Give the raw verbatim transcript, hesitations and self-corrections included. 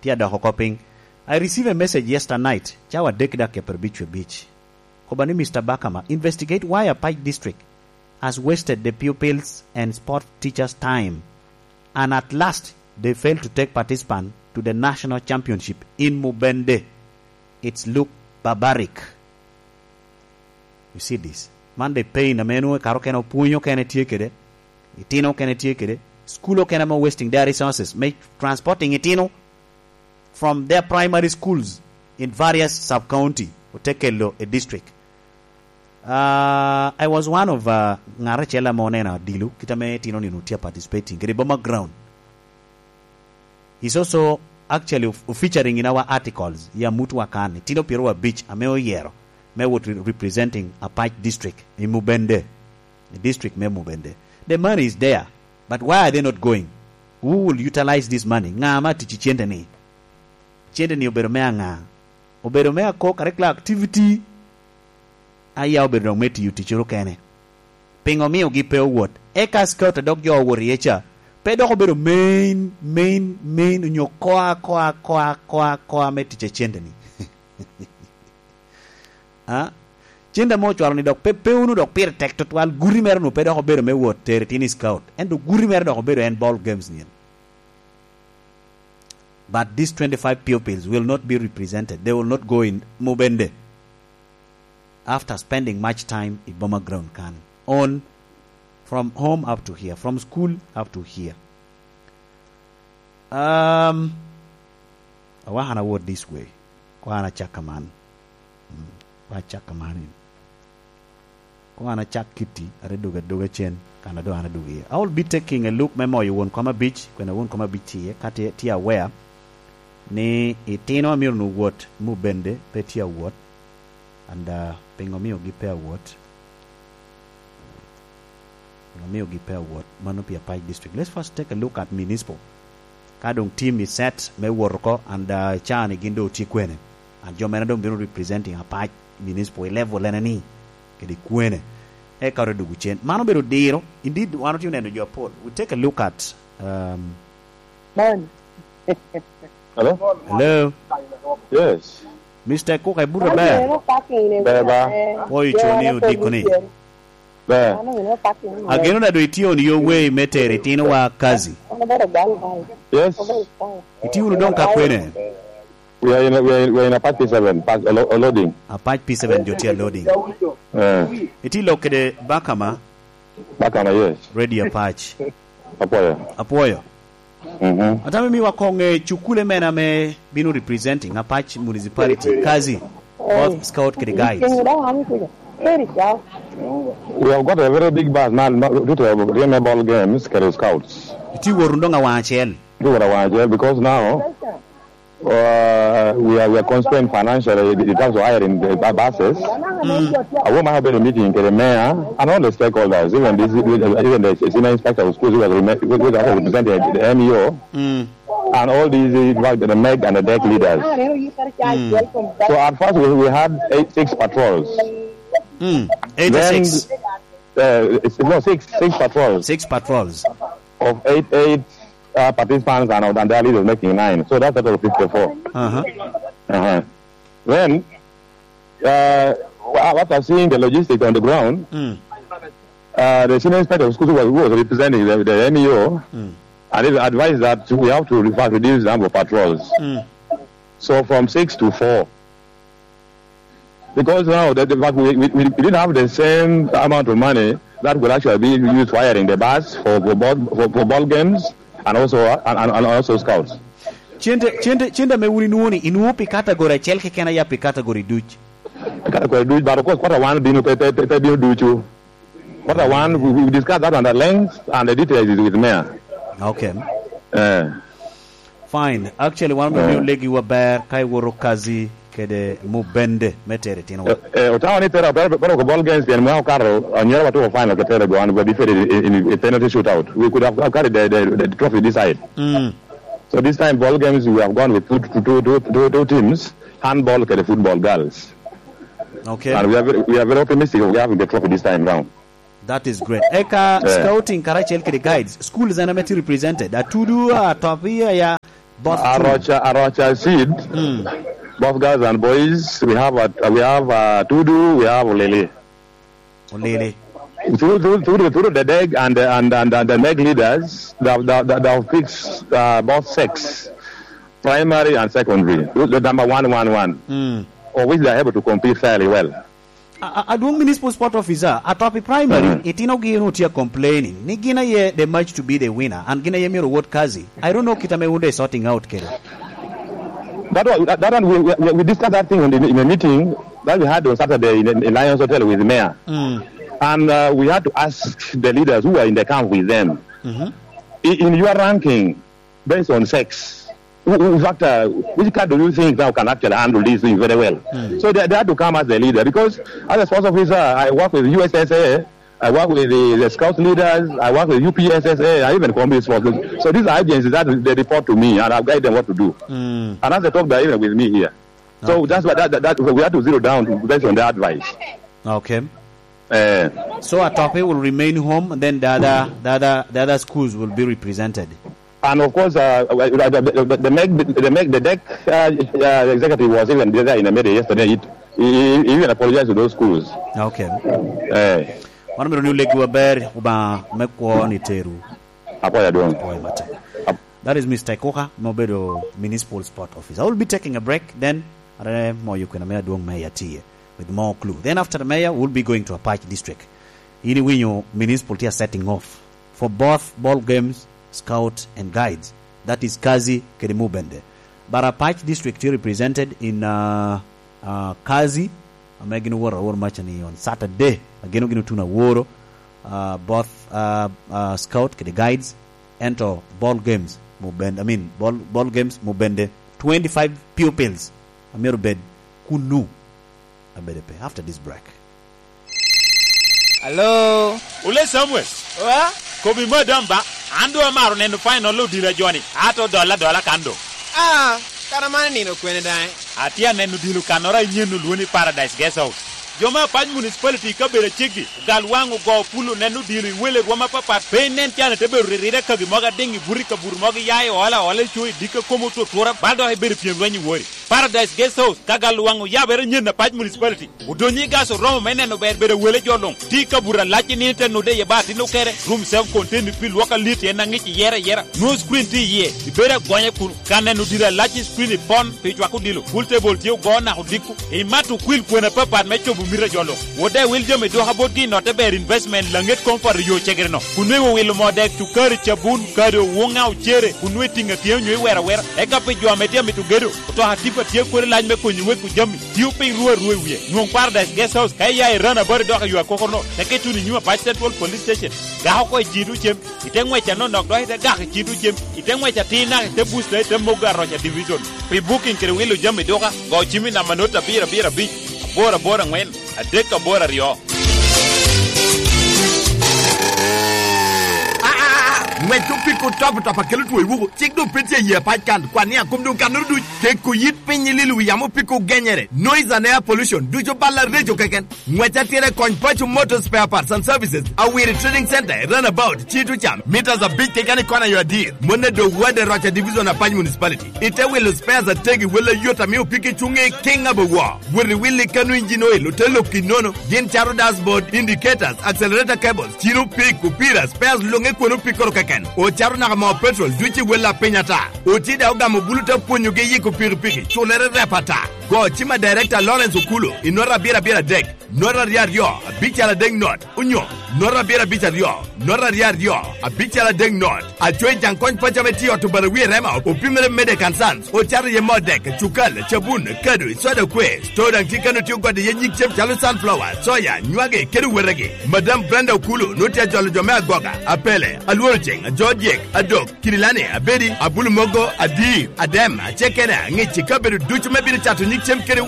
Tye adok oko piny. I receive a message yesterday night, cawa adek dakika pyerabic wie abic. Koba ni, "Mister Bakama, investigate why Apac District has wasted the pupils and sport teachers' time, and at last they fail to take participant to the national championship in Mubende. It's look barbaric." You see this? Man the pain ame nwoŋo kare okene opwony okene tye kede, itino okene tye kede, school okene ame wasting their resources me transporting itino from their primary schools in various sub-county, ote kelo a district. Uh, I was one of, uh, ŋat acel ame oneno adilo, kit ame itino nino tye participating kede Boma Ground. He's also actually of-, featuring in our articles, ya mutwa kan, itino pyero abic ame oyero me wot re-, representing Apac District in Mubende, the district me Mubende. The money is there, but why are they not going? Who will utilize this money? Ŋa ma tic i cente ni? Cente ni obedo me aŋa? Obedo me ako curricular activity, aya obedo dok me tiyo ticoro kene. Pingo miogi pe owot? Eka scout a dok jo owot iye ca, pe dok obedo main, main, main, onyo koa, koa, koa, koa, koa me tic a cente ni. Ah? Cente ame ocwalo ni dok pe, pe unu dok pire tek tutwal, guti mere nu pe dok obedo me wot tero itino i scout. Ento guti mere dok obedo en ball games nyen. But these twenty-five pupils will not be represented. They will not go in Mubende after spending much time i Boma Ground kan. On from home up to here, from school up to here. Um, I want to word this way. Ko an acak kaman. Mm. Ko acak kaman. Ko an acak kitti, are doge adoga cen, kan a doŋ an adogo iye. I will be taking a look me moyo won kom abic, kwene won kom abic tye iye, ka tye, tye aware ni itino a myero nu wot, Mubende pe tye awot, and, uh, pingo miogi pe awot? Pingo miogi pe awot? Mano pi Apac District. Let's first take a look at municipal. Ka doŋ team i set me wot oko, and, uh, caa ni gin doŋ otye kwene? And jo mene doŋ bino representing Apac Municipal i level ene ni, kede kwene? Eka ote dwogo cen. Mano obedo diro. Indeed, wan otye oneno jo apol. We take a look at, um, Man. Hello? Hello? Yes. Mister Cook, I put a bell. Beba. Boy, you choni odiko ni. Ber. Ageno na do itye on your way me tero itinowa kazi. Yes. Itye wunu doŋ ka kwene? We are in, we are in, we are in Apac P seven, pack, lo-, loading. Apac P seven jo tye loading. Eh. Itye lok kede Bakama? Bakama, yes. Ready Apac. Apwoyo. Apwoyo. Mhm. Atamo imiwa koŋ ŋe cukule mene ame bino representing Apac Municipality, kazi, both scout kede guides. We have got a very big bus now, ma, due to the Reme ball games, kede scouts. Itye wot wunu doŋ awaŋ acel. Itye wot awaŋ acel because now, uh, we are, we are constrained financially in terms of hiring the bu-, buses. Mm. Awo ma have been meeting kede mayor and all the stakeholders, even this, even the senior inspector of schools who was reme-, who was representing the M E O. Mm. And all these, in fact, the meg and the deck leaders. Mm. So at first we, we had eight, six patrols. Mm. Eight or six? Then, uh, it's, no, six, six patrols. Six patrols. Of eight, eight, uh, participants and, and their leaders making nine. So that's a total of fifty-four. Uh-huh. Uh-huh. Then, uh, a-, after seeing the logistics on the ground, Mm. uh, the senior inspector of schools who was, who was representing the, the M E O, Mm. and he advised that we have to, in fact, reduce the number of patrols. Mm. So from six to four. Because now the, the fact we, we, we didn't have the same amount of money that would actually be used for hiring the bus for, for ball, for, for ball games and also, and, and, and also scouts. Cente, cente, cente ame wun inwoŋo ni, inwoŋo pi category acel keken ya pi category duc? Category duc, but of course, quarter one bino pe, pe, pe, pe bino ducu. Quarter one, we, we discuss that one at length, and the details is with mayor. Okay. Eh. Fine. Actually, wan omio Eh. legi wa ber, ka iworo kazi kede Mubende me tero itinowa. Eh, eh, otamo ni tero, tero, tero ko ball games pien mwaka okato, anyira watuko final ke tero go, and we defeated in, in, in penalty shootout. We could have, have carried the, the, the trophy this side. Mm. So this time, ball games, we have gone with two, two, two, two, two, two teams, handball kede football girls. Okay. And we are very, we are very optimistic of having the trophy this time round. That is great. Eka Eh. scouting karacel kede guides, schools en ame tye represented. Atudu, Atopi, aya, Both two. Arocha, Arocha Seed, mm, both girls and boys. We have a, we have, uh, Tudu, we have Lily. Lily. Through, through, through, through the DEG and, and, and, and the MEG leaders, they have, they have, they have fixed, uh, both sex, primary and secondary. The number one, one, one, mm, of which they are able to compete fairly well. A, a, adwoŋ municipal sport officer, atop i primary, mm, itinogi onwoŋo tye a complaining ni gin aye they match to be the winner, and gin aye myero owot Kazi. I don't know kit ame wun de sorting out kede. That one, that, that one we, we, we discussed that thing in, in a meeting that we had on Saturday in, in Lions Hotel with the mayor. Mm. And, uh, we had to ask the leaders who are in the camp with them. Mm-hmm. In, in your ranking, based on sex, who, who factor, which card do you think now can actually handle this thing very well? Mm. So they, they had to come as a leader, because as a sports officer, I work with U S S A, I work with the, the scout leaders, I work with U P S S A, I even community sports. So these are agencies that they report to me, and I guide them what to do. Mm. And as I talk, they're even with me here. So, okay, that's why that, that, that, we have to zero down based on the advice. Okay. Eh. So Atope will remain home, and then the other, the other, the other schools will be represented. And of course, uh, uh, the, the, the, the, MEG, the MEG, the DEC, uh, uh, executive was even there in the media yesterday. It, he, he even apologized to those schools. Okay. Eh. Mano myero ni olegi maber, Obaŋa me kwo ni teru. Apwoyo adwoŋ. Apwoyo matek. Ap- That is Mister Ikuka, ma obedo Municipal Sport Officer. I will be taking a break, then are moyo kwena me adwoŋ me Yatiye with more clue. Then after the mayor, we'll be going to Apac District. In iwinyo municipal tye a setting off for both ball games, scout and guides. That is Kazi kede Mubende. But Apac District tye represented in, uh, uh, Kazi, ame gin oworo awor maca ni on Saturday, ageno gin otuno aworo, uh, both, uh, uh, scout kede guides, ento ball games Mubende, I mean, ball, ball games Mubende, twenty-five pupils amyero bed kunnu. Abede pe after this break. Hello? Ole Samuel. Wa? Kobi madam ba, an doŋ amaro neno final odilo a joni, ato dola dola kan doŋ. Ah, kara man nino kwene daŋ? Atye aneno odilo kannoro a inyen olwoŋo ni Paradise Guest House. Jo me Apac Municipality i kabedo aceggi, ogal waŋ ogo pulo neno odilo i wele rwom apapat, pe inen can ite bedo riride kagi mogo adiŋ i buto i kabuto mogo iya i ola ola i co i dikka kom otut tura, bal dok ibedo pyem lweny i wori. Paradise Guest House, ka gal waŋ oyabere nyen Apac Municipality. Odonyo i gas oromo me neno ber bedo wele jo luŋ. Tye i kabuto alac i nino te nude iye ba atin okere. Room self contained pi lwok alit en aŋic iyere ayera. Nwoŋo screen tye iye. Ibedo agonya kun ka neno odilo alac i screen ipon pi cwako odilo. Pool table tye ogo naka odiko. Imato okwil kwena apapat me cobo mito a jo luŋ. Wode wil jami dwoka botgi i notte ber investment laŋet comfort i yo cegere no. Kun nweŋo wilo moo dek, cukari, cabun, kado, woŋa, ocere, kun nwe tiŋa tye onyo iwero awera. Eka pi jo ame tye amito gedo, otoka tipa tye kodi lac me konyo weko jami. Tio piny ruu arua i wie. Nwoŋ Paradise Guest House ka iya i Rana Bari dok i yo akokoro no, teke tuno i nyim Apac Central Police Station. Gak oko i cito cem, ite ŋwec anonok dok ite gak i cito cem, ite ŋwec atir naka ite booster ite mogo Aroca Division. Pi booking kede wilo jami duka, go cim i namba not abiro abiro abic, aboro aboro aŋwen, adek aboro aryo. Aa, ŋwec opiko top top akelo two i wuku, cik doŋ pe tye i yie Apac kan, kwan ni akom doŋ kannoro duc, keko yit piny i lilo wi yamo opiko genyere, noise and air pollution, ducu bal areco keken. Ngwec atira i Kony Paco Motor Spare Parts and Services, Awiri Trading Center, Runabout, Cito Cam, meters abic keken i kona yo adir. Mone do wade Roca Division, Apac Municipality. Ite wilo spares ategi, wele yot ame opiki cuŋe i King Abawa. Wot i wili kanu engine oil, ote lok i nono. Gin cato dashboard, indicators, accelerator cables, ciro pik, opira, spares luŋe kwene opikoro keken. Ocato naka moo petrol, duc i wel a piny ata. Oti daŋ ogamo bulu te pwonyogi yiko pikipiki, culere rep ata. Go cim a Director Lawrence Okulo i nota abiro abiro adek, nota aryo aryo, abic adek not, onyo nota abiro abic aryo, nota aryo aryo, abic adek not. Acoyi Jaŋ Kony Paco ame tye i ot Obarawi i Rema, opimere Medek and Sons, ocato iye moo dek, cukal, cabun, kado, soda kwe. Store daŋ tye kano tye ogode iye nyig cem calo sunflower, soya, nywagi, kede wetegi. Madam Brenda Okulo nwoŋo tye ajolo jo me Agoga, Apele, Alworo Ceŋ, Ajodyek, Adok, Kirilani, Abedi, Abulu Mogo, Adir, Adem, Acekena, Ŋic, i kabedo ducu me bino cato nyig cem kede